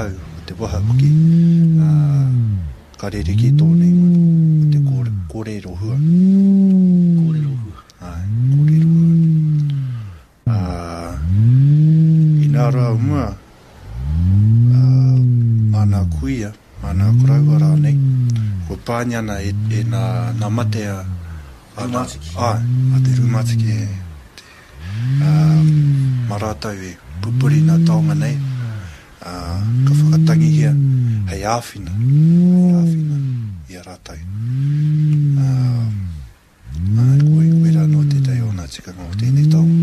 hau, o te waha hoki, ā, ka rerekē tōna ingoa, ko te kōrero hua. Kōrero hua. Āe, kōrero hua. Ā, inā rā o mua, ā, mā nā kuia, mā nā koroua rānei, kua pāngia ana e, e nā, nā mate a, a nā, āe, a te rūmātiki e, te, ā, mā rātou e pupuri nā taonga nei, ā, ka whakatangihia hei āwhina, hei āwhina i a rātou. Ā, Āe, koe, koirā noa tētahi o ngā tikanga o tēnei taonga.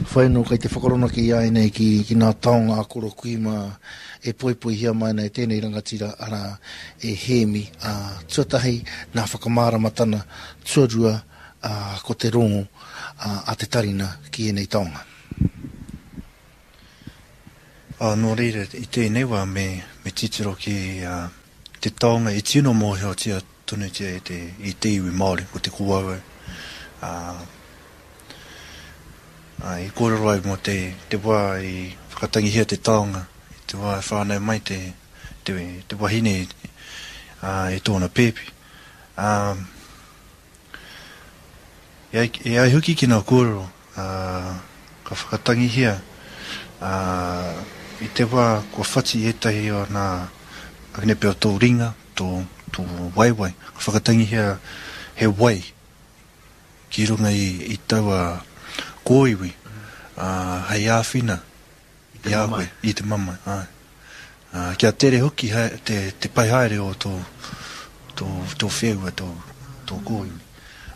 Whai anō kei te whakaronaki i a ēnei ki, ki ngā taonga a Koro Kui mā e poipoihia mai ana e tēnei rangatira, arā, e Hēmi, ā, tuatahi nā whakamāramatana, tuarua, ā, ko te rongo, ā, a te tarina ki ēnei taonga. Ā, nō reira, i tēnei wā me, me titiro ki te taonga i tino mōhiotia tonutia e te, i te iwi Māori, ko te kōauau. Ā, ā, i kōrero au mō te, te wā i whakatangihia te taonga, i te wā i whānau mai te, te, te wahine, ā, i tōna pēpi. Ā, E ai, e ai hoki ki ngā kōrero, ā, ka whakatangihia, ā, i te wā kua whati ētahi o ngā akene pea o tō ringa, tō, tō waewae, ka whakatangihia he wai ki runga i, i taua kōiwi, ā, hei āwhina I a koe, i te mamae, āe. Ā, kia tere hoki te, te pai haere o tō, tō, tō wheua, tō, tō kōiwi.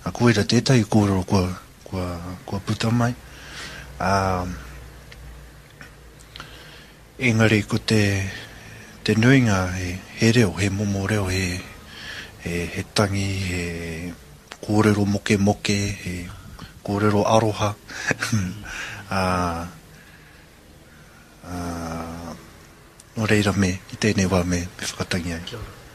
Ā, koira tētahi kōrero kua, kua, kua puta mai. Ā, engari ko te, te nuinga he, he reo, he momo reo, he, he, he tangi, he kōrero mokemoke, he kōrero aroha. Ā, Ā, nō reira me, i tēnei wā me, me whakatangi ai. Kia ora.